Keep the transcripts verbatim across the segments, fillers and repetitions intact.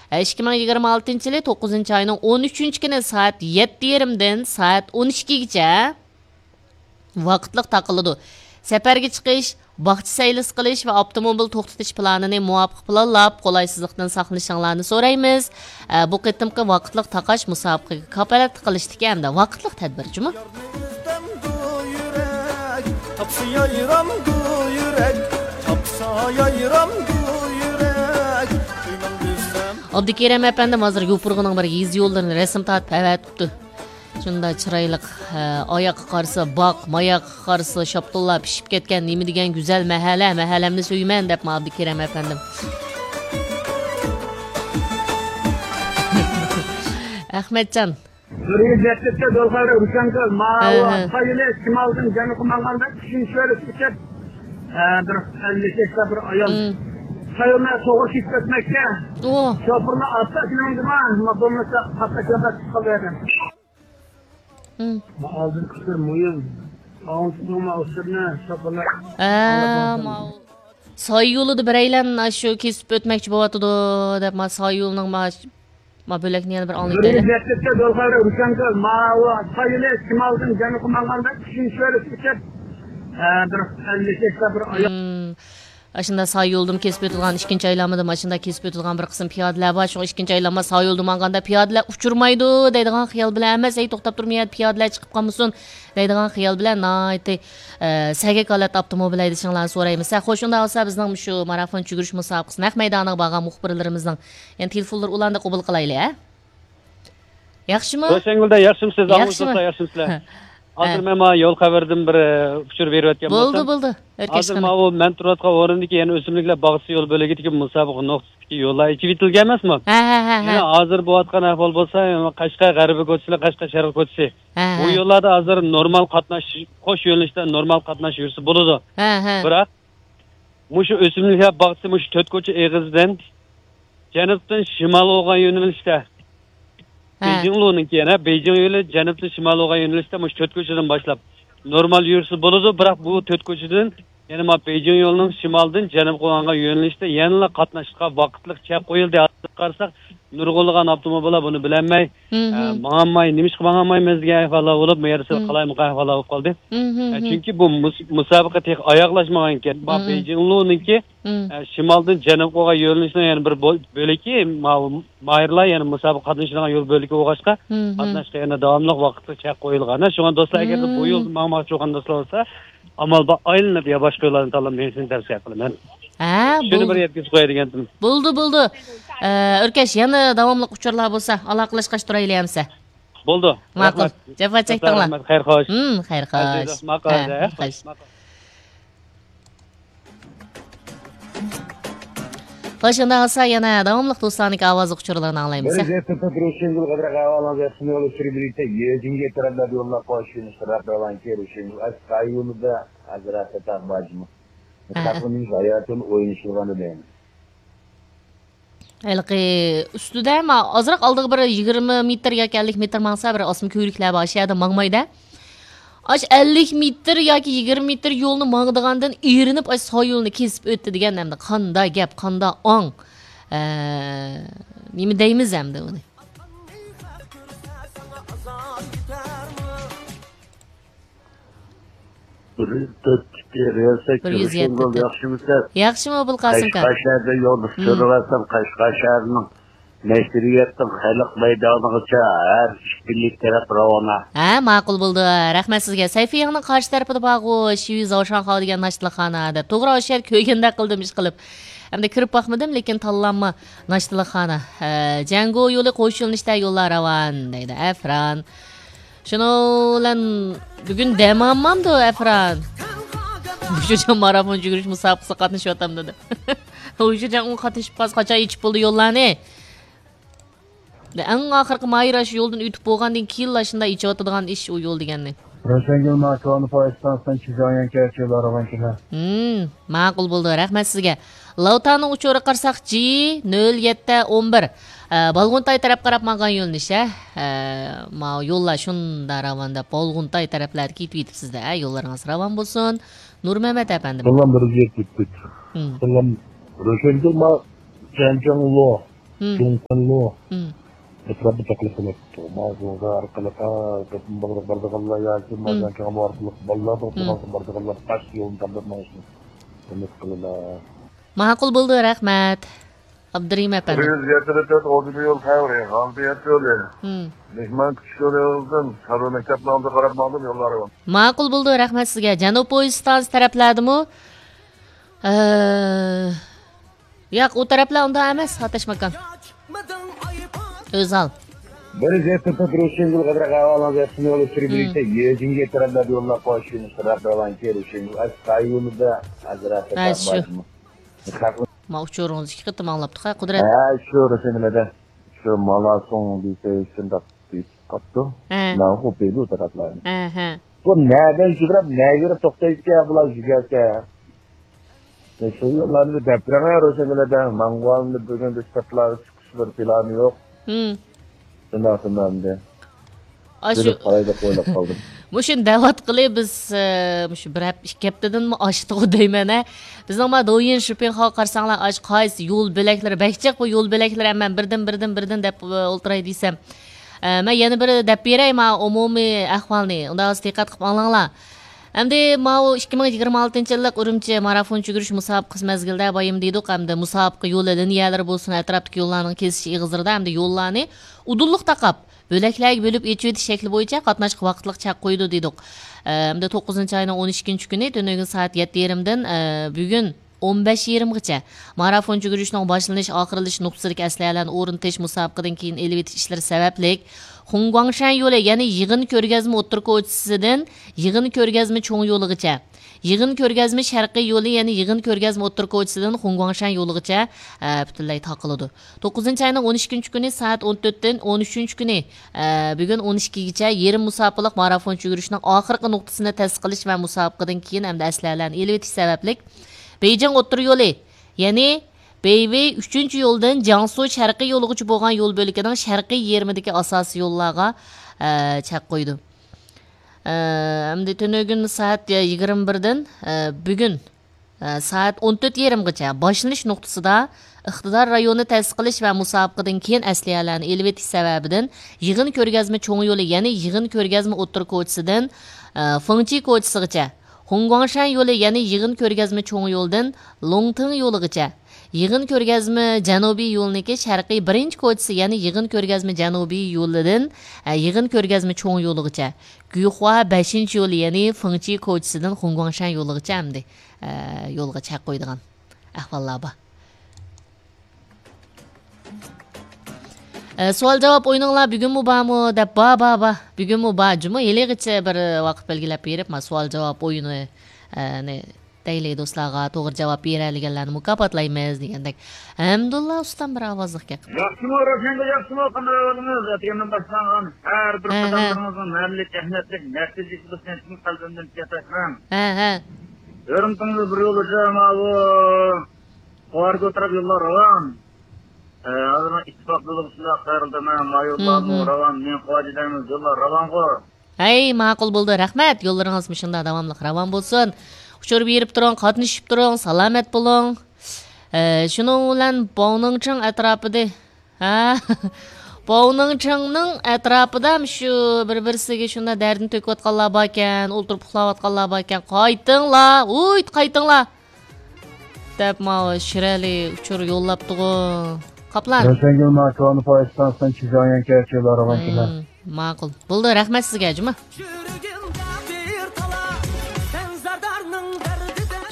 ئىككى مىڭ يىگىرمە ئالتىنچى يىلى توققۇزىنچى ئاينىڭ ئون ئۈچىنچى كۈنى سائەت يەتتە يېرىمدىن سائەت ئون ئىككىگىچە ۋاقىتلىق تاقىلىدۇ. سەپەرگە چىقىش، باغچە سەيلىسى قىلىش ۋە ئاپتوموبىل توختىتىش پىلانىنى مۇۋاپىق پىلانلاپ، قولايسىزلىقتىن ساقلىنىشىڭلارنى سورايمىز. ئە، بۇ قېتىمقى ۋاقىتلىق تاقاش مۇسابىقىگە كاپالەتلىك قىلىشتىكى ھەمدە ۋاقىتلىق تەدبىر جۇمۇ. يارنى ئىزدەمدۇ يۈرەك، تاپسا يايرامدۇ يۈرەك، تاپسا يايرامدۇ يۈرەك، قىينال دېسەم. ئابدۇكېرىم ئەپەندىم ھازىر يوپۇرغىنىڭ بىر يېزا يوللىرىنى رەسىم تارتىپ ئەۋەتىپتۇ. شۇنداق چىرايلىق، ھە، ئاياققا قارىسا باغ، ماياققا قارىسا شاپتۇللار پىشىپ كەتكەن، نېمە دېگەن گۈزەل مەھەللە، مەھەللەمنى سۆيىمەن دەپ ماڭىدۇ كېرەم ئەپەندىم. ئەخمەتجان. بىر يۈز يەتمىش تۆت يول خەۋىرى روشەنگۈل، ماۋۇ ھە، ھە. سايلى شىمالدىن جەنۇبقا ماڭغاندا كىشىنى چۆرىسى كېتىپ، ئە، بىر ئەللىك ياشتا بىر ئايال مم. سايلىنى توغرا كېسىپ ئۆتمەكتە. ئۇ. شوپۇرلار ئاستا ماڭدىما، بولمىسا قاتناش يولدا چىقىپ قالىدۇ. مم. ئالدىنقى سىر مۇھىم. ئاڭلىتىڭ ماۋۇ سىرنى، شوپۇرلار. ھە، ماۋۇ. ساي يولىدا بىرەيلەن ئاشۇ كېسىپ ئۆتمەكچى بولۇۋاتىدۇ دەپ، ما ساي يولىنىڭ ما، ما بۆلەكنى يەنە بىر بىر ئاڭلىتايلى. يۈز يەتمىش تۆت يول خەۋىرى روشەنگۈل، ماۋۇ سايلى شىمالدىن جەنۇبقا ماڭغاندا كىشىنى چۆرىسى كېتىپ، ئە، بىر ئەللىك ياشتا بىر ئايال. مم. ئاشۇنداق ساي يولدىمۇ كېسىپ ئۆتىدىغان، ئىككىنچى ئايلانمىدا ماشىنىدا كېسىپ ئۆتىدىغان بىر قىسىم پىيادىلەر بار. شۇڭا ئىككىنچى ئايلانما ساي يولدا ماڭغاندا پىيادىلەر ئۇچرىمايدۇ دەيدىغان خىيال بىلەن ئەمەس، ھەي، توختاپ تۇرمىغىن، پىيادىلەر چىقىپ قالمىسۇن دەيدىغان خىيال بىلەن ناھايىتى، ئە، سەگەك ھالەتتە ئاپتوموبىل ھەيدىشىڭلارنى سورايمىز. ھە، خوش، ئۇنداق بولسا بىزنىڭ مۇشۇ مارافون چۈگۈرۈش مۇسابىقىسى نەق مەيدانىغا بارغان مۇخبىرلىرىمىزنىڭ يەنە تېلېفونلىرى ئۇلارنى قوبۇل قىلايلى، ھە؟ ياخشىمۇ؟ روشەنگۈلدە ياخشىمۇسىز؟ ئاڭلىسىز ياخشىمۇ؟ دوستلار، ياخشىمۇسىلەر؟ ھە. ھازىر مەن مانا يول خەۋىرىدىن بىر، ئە، ئۇچۇر بېرىۋەتكەن بولدى، بولسام. بولدى. ھازىر ماۋۇ مەن تۇرۇۋاتقان ئورۇندىكى يەنە ئۆسۈملۈكلەر باغچىسى يول بۆلىكىدىكى مۇسابىقە نۇقتىسىدىكى يوللار ئېچىۋېتىلگەن ئەمەسمۇ؟ ھە، ھە، ھە، ھە. يەنە ھازىر بولۇۋاتقان ئەھۋال بولسا، يەنە قەشقەر غەربىي كوچىسى بىلەن قەشقەر شەرقىي كوچىسى. ھە، بۇ ھە. يوللاردا ھازىر نورمال قاتناش، قوش يۆنىلىشتە نورمال قاتناش يۈرسە بولىدۇ. ھە، ھە. بىراق مۇشۇ ئۆسۈملۈكلەر باغچىسى مۇشۇ تۆت كوچا ئېغىزىدىن جەنۇبتىن شىمال بولغان يۆنىلىشتە. ھە. بېيجىڭلۇنىڭكى يەنە، بېيجىڭ يولى جەنۇبتىن شىمال بولغان يۆنىلىشتە مۇشۇ تۆت كوچىدىن باشلاپ نورمال يۈرسە بولىدۇ، بىراق بۇ تۆت كوچىدىن يەنە ما بېيجىڭ يولىنىڭ شىمالدىن جەنۇبقا بولغان يۆنىلىشتە يەنىلا قاتناشقا ۋاقىتلىق چەك قويۇلدى. ھازىر قارىساق، نۇرغۇنلىغان ئاپتوموبىللار بۇنى بىلەلمەي، مم. ئە، ماڭالماي، نېمىشقا ماڭالمايمىز دېگەن ئەھۋاللار بولۇپ، بۇ يەردە سەل مم. قالايمىقان ئەھۋاللار بولۇپ قالدى. مم، مم، ئە، مم. چۈنكى بۇ مۇس-، مۇسابىقە تېخى ئاياغلاشمىغانىكەن. ما مم. بېيجىڭلۇنىڭكى، مم. ئە، شىمالدىن جەنۇبقا بولغان يۆنىلىشنىڭ يەنە بىر بۆ-، بۆلىكى، ما-، ماھىرلار يەنە مۇسابىقە قاتنىشىدىغان يول بۆلىكى بولغاچقا، مم، مم. قاتناشقا يەنە داۋاملىق ۋاقىتلىق چەك قويۇلغان. شۇڭا دوستلار، ئەگەردە بۇ مم. يولدا ماڭماقچى بولغان دوستلار بولسا، ئامال بار ئايلىنىپ يا باشقا يوللارنى تاللاپ مېڭىشنى تەۋسىيە قىلىمەن. ھە، شۇنى بىر يەتكۈزۈپ قوياي دېگەنتىم. بولدى، بولدى. ئە، ئۆركەش، يەنە داۋاملىق ئۇچۇرلار بولسا، ئالاقىلەشكەچ تۇرايلى ئەمىسە. بولدى. ماقۇل. رەھمەت. جاپا چەكتىڭلار. رەھمەت، خەير خوش. ھىم، خەير خوش. ئەزىز، ماقۇل، ھە، ھە، خەير خوش. ماقۇل. خوش، ئۇنداق بولسا يەنە داۋاملىق دوستلارنىڭكى ئاۋازلىق ئۇچۇرلىرىنى ئاڭلايمىز، ھە؟ بىر زەپتە تۇرۇشۇڭىزغا بىر ئاۋازىڭىز يەتسۇن، يول سۈرۈپ يۈرسەك، يېزىڭگە تەرەپلەردە يوللار قوشۇلۇش تەرەپ راۋانكى رۇشۇڭىز ئەس قايۇلىدا ھەزرەتتە تاق باجمۇ. ھە. تاقلىنىش ھاياتىم ئوينىشىلغان ئىدى. ھېلىقى ئۈستىدە ما-، ئازراق ئالدىغا بىر يىگىرمە مېتىر ياكى ئەللىك مېتىر ماڭسا، بىر ئاسما كۆۋرۈكلەر بار، ئاشۇ يەردە ماڭمايدۇ. ئاش ئەللىك مېتىر ياكى يىگىرمە مېتىر يولنى ماڭىدىغاندىن ئېرىنىپ، ئاش ساي يولنى كېسىپ ئۆتتى دېگەن ئەمدى قاندا گەپ، قاندا ئاڭ. ئە، نېمە دەيمىز ئەمدى ئۇنى؟ بىر تۆت ئىككى رېئال سەككىز بىر يۈز يەتتە. ياخشىمۇسىز؟ ياخشىمۇ، ئابۇلقاسىم ئاكا؟ قەشقەر شەھىرىدە يولدا مم. سۈرۈۋاتسام، قەشقەر شەھىرىنىڭ نەشرىياتتىن خەلق مەيدانىغىچە ھەر ئىككىلى تەرەپ راۋانە. ھە، ماقۇل بولدى. رەھمەت سىزگە. سەيفىيىڭنىڭ قارشى تەرىپىدە بارغۇ، شىۋى زاۋشاڭخاۋ دېگەن ناشتىلىخانا دەپ. توغرا، ئاشۇ يەردە كۆرگەندەك قىلدىم ئىشقىلىپ. ئەمدى كىرىپ باقمىدىم، لېكىن تاللانما ناشتىلىخانا. ھە، جەڭگو يولى قوش يۆنىلىشتە يوللار راۋان دەيدۇ. ئەفران. شۇنىڭ بىلەن بۈگۈن دەم ئالمامدۇ ئەفران؟ ھۇيشۇجاڭ مارافون يۈگۈرۈش مۇسابىقىسىگە قاتنىشىۋاتامدۇ دەپ. ھۇيشۇجاڭ ئۇ قاتنىشىپ قالسا قاچان ئېچىپ بولىدۇ يوللارنى؟ ئەڭ ئاخىرقى ماھىر ئاشۇ يولدىن ئۆتۈپ بولغاندىن كېيىنلا شۇنداق ئېچىۋاتىدىغان ئىش ئۇ يول دېگەننى. روشەنگۈل ماكىۋانى پاكىستانىستان چىجياڭ يەنكەچى لارغان كېلە. ھىم، ماقۇل بولدى. رەھمەت سىزگە. لاۋتانىڭ ئۇچۇرىغا قارىساق، جى نۆل يەتتە ئون بىر. ئە، بالغۇنتاي تەرەپ قاراپ ماڭغان يۆنىلىش، ھە؟ ئە، ماۋۇ يوللار شۇنداق راۋان دەپ، بالغۇنتاي تەرەپلەردە كېتىۋېتىپسىز-دە، ھە؟ يوللىرىڭىز راۋان بولسۇن. نۇرمەمەت ئەپەندىم. بالام بىر يەتتە ئۆتتى. ھىم. بالام روشەنگۈل ما جەنجاڭلو. جۇڭخۇەنلۇ ئەتراپىدا تەكلىپ قىلىپتۇ. ماۋۇ جۇڭخۇەن ئارقىلىق، ھە، بارىدىغانلار ياكى مازياڭكاڭلۇ ئارقىلىق بالىلار توختىغان بارىدىغانلار باش يولنى تاللاپ مېڭىشنى ئۈمىد قىلىمەن. ماقۇل بولدى، رەھمەت. ئابدۇرېھىم ئەپەندى. بىر يۈز يەتتە تۆت ئوردىبىيول خەۋىرى، غالبىيەت يولى. مم. مېھمان كۈتۈش يولى يولىدىن سەرۋەر مەكتەپنىڭ ئالدىغا قاراپ ماڭدىم، يوللار ئاۋام. ماقۇل بولدى، رەھمەت سىزگە. جەنۇب پويىز ئىستانسىسى تەرەپلەردىمۇ؟ ئە، ياق، ئۇ تەرەپلەر ئۇنداق ئەمەس، ئاتاش ماكان. ئۆزھال. بىر يۈز يەتتە تۆت روشەنگۈل غەدرەخ ئەھۋالىڭىز ياخشىمۇ؟ يول ئۆچۈرۈپ بېرىشتە يېزىڭگە تەرەپلەردە يوللار قويۇش يۈرۈش تەرەپ راۋانكى روشەنگۈل ئەسقاي يولىدا ھازىر ھە، شۇ. ما ئۇچۇرىڭىز ئىككى قېتىم ئاڭلاپتۇق ھە، قۇدرەت. ھە، شۇ روشەنگۈلدە. شۇ مالاسوڭ دېسە شۇنداق دېيىپ قاپتۇ. ھە. ماڭا ئۇ بېلى ئۇ تەرەپلەرنى. ھە، ھە. بۇ نەدىن يۈگۈرۈپ، نەگە بېرىپ توختايدىكەن بۇلار يۈگەرسە؟ شۇ يوللارنى دەپ بېرىڭە روشەنگۈلدە. ماڭغاننى بۈگۈن بىز سىرتلارغا چىقىش بىر پىلانى يوق. ھىم. شۇنداق، شۇنداق ئەمدى. ئاشۇ بىلىپ قالاي دەپ ئويلاپ قالدىم. مۇشۇنى دەۋاتقىلى بىز، ئە، مۇشۇ بىر ھەپ-، ئىككى ھەپتىدىنمۇ ئاشتىغۇ دەيمەن، ھە. بىزنىڭ ما دويىن شىپىڭخاغا قارىساڭلار، ئاش قايسى يول بۆلەكلىرى بەك جىق، بۇ يول بۆلەكلىرى ھەممە بىردىن، بىردىن، بىردىن دەپ، ئە، ئولتۇراي دېسەم. ئە، مەن يەنە بىر دەپ بېرەي، ما ئومۇمىي ئەھۋالنى. ئۇنداق بولسا دىققەت قىلىپ ئاڭلاڭلار. ئەمدى ماۋۇ ئىككى مىڭ يىگىرمە ئالتىنچى يىللىق ئۈرۈمچى مارافون يۈگۈرۈش مۇسابىقىسى مەزگىلىدە بايام دېدۇق، ئەمدى مۇسابىقە يولى، لىنىيەلىرى بولسۇن، ئەتراپتىكى يوللارنىڭ كېسىش ئېغىزلىرىدا ئەمدى يوللارنى ئۇدۇللۇق تاقاپ، بۆلەكلەرگە بۆلۈپ ئېچىۋېتىش شەكلى بويىچە قاتناشقا ۋاقىتلىق چەك قويىدۇ دېدۇق. ئە، ئەمدى توققۇزىنچى ئاينىڭ ئون ئىككىنچى كۈنى تۈنۈگۈن سائەت يەتتە يېرىمدىن، ئە، بۈگۈن ئون بەش يېرىمغىچە مارافون يۈگۈرۈشنىڭ باشلىنىش، ئاخىرلىشىش نۇقتىسىدىكى ئەسلىھەلەرنى ئورنىتىش، مۇسابىقىدىن كېيىن ئېلىۋېتىش ئىشلىرى سەۋەبلىك، خۇڭگۇاڭشەن يولى، يەنى يىغىن كۆرگەزمە ئوتتۇرا كوچىسىدىن يىغىن كۆرگەزمە چوڭ يولىغىچە، يىغىن كۆرگەزمە شەرقىي يولى، يەنى يىغىن كۆرگەزمە ئوتتۇرا كوچىسىدىن خۇڭگۇاڭشەن يولىغىچە، ئە، پۈتۈنلەي تاقىلىدۇ. توققۇزىنچى ئاينىڭ ئون ئىككىنچى كۈنى سائەت ئون تۆتتىن ئون ئۈچىنچى كۈنى، ئە، بۈگۈن ئون ئىككىگىچە يېرىم مۇساپىلىق مارافون يۈگۈرۈشنىڭ ئاخىرقى نۇقتىسىنى تەسىس قىلىش ۋە مۇسابىقىدىن كېيىن ھەمدە ئەسلىھەلەرنى ئېلىۋېتىش سەۋەبلىك، بېيجىڭ ئوتتۇرا يولى، يەنى بېيۋېي ئۈچىنچى يولدىن جياڭسۇ شەرقىي يولىغىچە بولغان يول بۆلىكىنىڭ شەرقىي يېرىمىدىكى ئاساسىي يوللارغا، ئە، چەك قويىدۇ. ئە، ئەمدى تۈنۈگۈن سائەت يىگىرمە بىردىن، ئە، بۈگۈن، ئە، سائەت ئون تۆت يېرىمغىچە باشلىنىش نۇقتىسىدا ئىقتىدار رايونى تەسىس قىلىش ۋە مۇسابىقىدىن كېيىن ئەسلىھەلەرنى ئېلىۋېتىش سەۋەبىدىن يىغىن كۆرگەزمە چوڭ يولى، يەنى يىغىن كۆرگەزمە ئوتتۇرا كوچىسىدىن، ئە، فېڭچى كوچىسىغىچە، خۇڭگۇاڭشەن يولى، يەنى يىغىن كۆرگەزمە چوڭ يولىدىن لوڭتىڭ يولىغىچە، يىغىن كۆرگەزمە جەنۇبىي يولىنىڭكى شەرقىي بىرىنچى كوچىسى، يەنى يىغىن كۆرگەزمە جەنۇبىي يولىدىن، ئە، يىغىن كۆرگەزمە چوڭ يولىغىچە، گۈيخۇا بەشىنچى يولى، يەنى فېڭچى كوچىسىدىن خۇڭگۇاڭشەن يولىغىچە ئەمدى، ئە، يولغا چەك قويىدىغان ئەھۋاللار بار. ئە، سوئال جاۋاب ئويۇنۇڭلار بۈگۈنمۇ بارمۇ دەپ، بار، بار، بار. بۈگۈنمۇ بار. جۇمۇ ھېلىغىچە بىر ۋاقىت بەلگىلەپ بېرىپ، ما سوئال جاۋاب ئويۇنى، ئە، نى دەيلى دوستلارغا توغرا جاۋاب بېرەلىگەنلەرنى مۇكاپاتلايمىز دېگەندەك. ھەمدۇللا ئۇستام بىر ئاۋازلىق گەپ قىلدى. ياخشىمۇ، روشەنگۈل، ياخشىمۇ؟ قانداق ئەھۋالىڭىز؟ ئەتىگەندىن باشلانغان ھەر بىر ھە، ھە. قاتارلىرىڭىزنىڭ مەملىكەت ئەھمىيەتلىك مەركىزىي خىزمىتىنى چىن قەلبىمدىن تىكەن تاشلاڭ. ھە، ھە. ھۆرمىتىڭىزنى بىر يول ئۈچۈن ماۋۇ قوارگا تەرەپ يوللار راۋان. ئە، ھازىر ئىتتىپاق يولىغا شۇنداق قايرىلدىم، ھە، ما يوللارمۇ راۋان، مېنىڭ قوارگا دەيمىز، يوللار راۋانغۇ. ھەي، ماقۇل بولدى، رەھمەت. يوللىرىڭىز مۇشۇنداق داۋاملىق راۋان بولسۇن. ئۇچۇر بېرىپ تۇرۇڭ، قاتنىشىپ تۇرۇڭ، سالامەت بولۇڭ. ئە، شۇنىڭ بىلەن باۋنىڭچىڭ ئەتراپىدا، ھە؟ باۋنىڭچىڭنىڭ ئەتراپىدا شۇ بىر-بىرسىگە شۇنداق دەردىنى تۆكۈۋاتقانلار باركەن، ئولتۇرۇپ ئۇخلاۋاتقانلار باركەن. قايتىڭلار، ھۇيت، قايتىڭلار! دەپ ماۋۇ شىرئەلى ئۇچۇر يوللاپتىغۇ. قاپلان. روشەنگۈل، ما كونا پويىز ئىستانسىسىدىن چىجياڭيەن كەچۈرلەر راۋان كېلە. مم، ماقۇل. بولدى، رەھمەت سىزگە، جۇمۇ.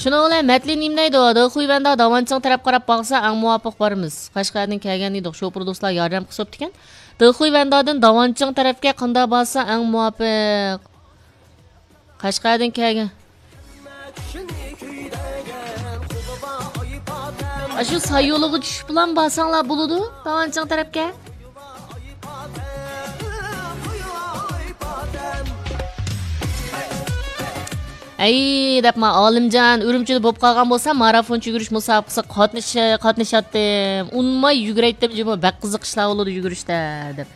شۇنىڭ بىلەن مەتلى نېمە دەيدۇ؟ دېخۇيۋەندا داۋانچىڭ تەرەپ قاراپ باقسا ئەڭ مۇۋاپىق بارىمىز. قەشقەردىن كەلگەن ئىدۇق، شوپۇر دوستلار ياردەم قىلسا بوپتىكەن. دېخۇيۋەندادىن داۋانچىڭ تەرەپكە قانداق بارسا ئەڭ مۇۋاپىق؟ قەشقەردىن كەلگەن. ئاشۇ سايولىغا چۈشۈپلا بارساڭلار بولىدۇ، داۋانچىڭ تەرەپكە. ئەي، دەپما، ئالىمجان، ئۈرۈمچىدە بولۇپ قالغان بولسا، مارافون يۈگۈرۈش مۇسابىقىسىگە قاتنىش-، قاتنىشاتتىم. ئۇنىماي يۈگۈرەيتتىم جۇمۇ، بەك قىزىق ئىشلار بولىدۇ يۈگۈرۈشتە، دەپ.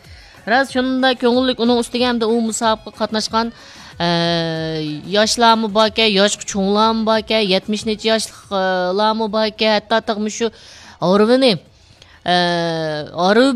راست، شۇنداق كۆڭۈللۈك. ئۇنىڭ ئۈستىگە ئەمدى ئۇ مۇسابىقىگە قاتناشقان، ئە، ياشلارمۇ باركەن، ياشقا چوڭلارمۇ باركەن، يەتمىش نەچچە ياشلىقلارمۇ باركەن، ھەتتا تېخىمۇ شۇ ھارۋىنى، ئە، ھارۋا